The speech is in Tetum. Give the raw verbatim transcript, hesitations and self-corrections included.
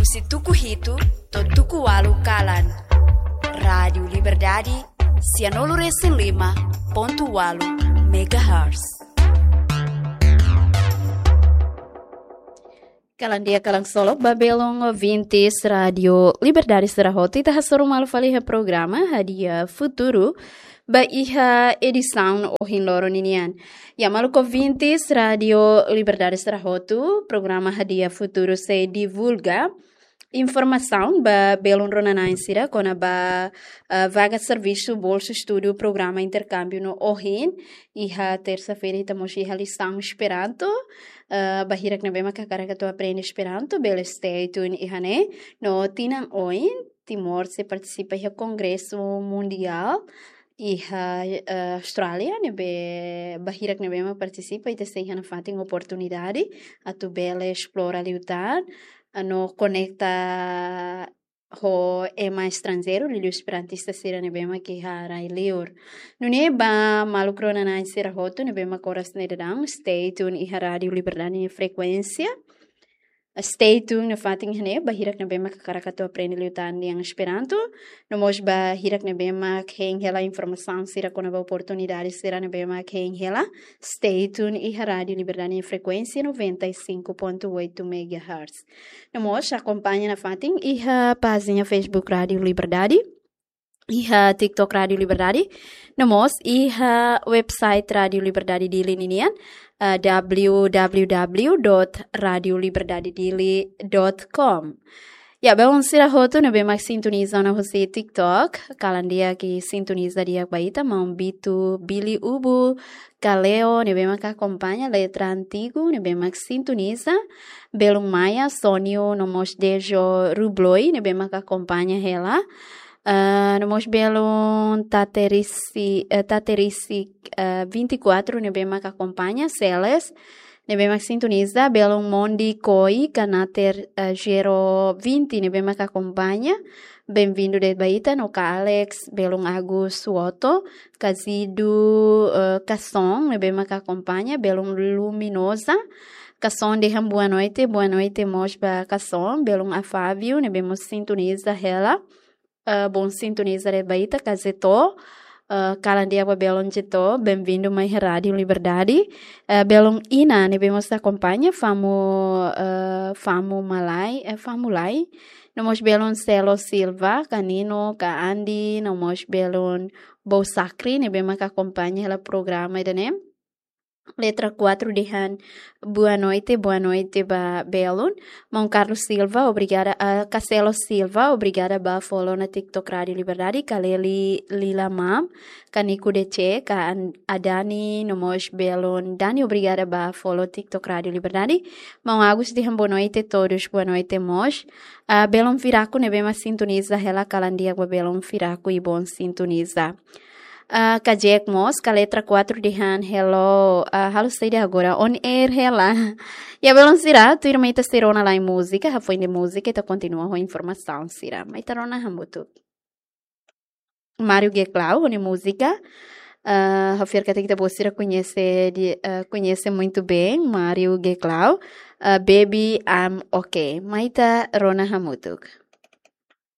Husi tuku hitu to'o tuku ualu kalan. Rádiu Liberdade, sianulu resin lima pontu ualu megahertz. Kalan di'ak, kalan solok ba belun ouvintes Rádiu Liberdade sira hotu, ita hasoru malu fali iha programa Hadi'a Futuru ba iha edisaun ohin loron ninian. Ya, maluk ouvintes Rádiu Liberdade sira hotu, programa Hadi'a Futuru sei divulga informasaun ba belun rona-na'in sira kona-ba, eh, vaga servisu, bolsa estudu, programa interkámbiu no ohin, iha tersa-feira, ita mós iha lisaun Esperanto, eh, ba hirak ne'ebé mak hakarak atu aprende Esperanto, bele stay tune iha ne'e, no tinan oin, Timor sei partisipa iha Kongresu Mundiál iha, eh, Austrália, ne'ebé ba hirak ne'ebé mak partisipa, ita sei iha nafatin oportunidade atu bele esplora liután, ah, no konekta ho ema estranjeiru, liuliu esperantista sira ne'ebé mak iha rai-liur. Nune'e ba maluk rona-na'in sira hotu ne'ebé mak oras ne'e daudaun, stay tune iha Rádiu Liberdade nia frekuénsia. Stay tune nafatin iha ne'e, ba hirak ne'ebé mak hakarak atu aprende liután lian Esperanto. No mós ba hirak ne'ebé mak hein hela informasaun sira kona-ba oportunidade sira ne'ebé mak hein hela. Stay tune iha Rádiu Liberdade nia frekuénsia noventa e cinco ponto oito megahertz. No mós akompaña nafatin iha pájina Facebook Rádiu Liberdade, iha TikTok Rádiu Liberdade, no mós iha website Rádiu Liberdade Dili ninian, eh, w w w dot radio liberdade dili dot com. Ya, belun sira hotu ne'ebé mak sintoniza ona husi TikTok, kalan di'ak sintoniza di'ak ba ita, maun Bitu Bili Ubu Kaleo ne'ebé mak akompaña, Letra Antigu ne'ebé mak sintoniza, belun Maia Sonio no mós Dejo Rubloi ne'ebé mak akompaña hela. Ah, no mós belun Taterisi, eh, Taterisi, eh, vinte e quatro ne'ebé mak akompaña, Celes ne'ebé mak sintoniza, belun Mondi Koi, Kanater, eh, zero vinte ne'ebé mak akompaña. Benvindu de'it ba ita, no ka Alex, belun Agus Suoto, Kazidu, eh, Kason ne'ebé mak akompaña, belun Luminosa, Kason dehan boa noite, boa noite mós ba Kason, belun Afávio ne'ebé mós sintoniza hela. Eh, bom sintoniza de'it ba ita, ka Zeto, eh, kalan di'ak ba belun Zeto, benvindu mai Rádiu Liberdade. Eh, belun Ina ne'ebé mós akompaña, Famu, eh, Famu Malai, eh, Famu Lai. No mós belun Celo Silva, ka Nino, ka Andi, no mós belun Bou Sakri ne'ebé mak akompaña hela programa ida-ne'e. Letra quatro dehan boa noite, boa noite ba belun. Maun Carlos Silva, obrigada, ah, Castelo Silva, obrigada ba follow ona TikTok Rádiu Liberdade, ka Leli Lila Mam, ka Nico D C, ka An-, Adani, no mós belun Dani, obrigada ba follow TikTok Rádiu Liberdade. Maun Agus dehan boa noite todos, boa noite mós. Ah, belun Firaku ne'ebé mak sintoniza hela, kalan di'ak ba belun Firaku i bom sintoniza. Ah, ka Jack mós, ka Letra quatro dehan hello, ah, halo saida agora, on air hela. Ya, belun sira, tuirmai ita sei rona lai múzika, hafoin de múzika ita kontinua ho informasaun sira. Mai ita rona hamutuk. Mário Geclau, ho nia múzika. Ah, ha'u fiar katak ita-boot sira koñese de, ah, koñese muito bem, Mário Geclau. Ah, Baby, I'm okay. Mai ita rona hamutuk.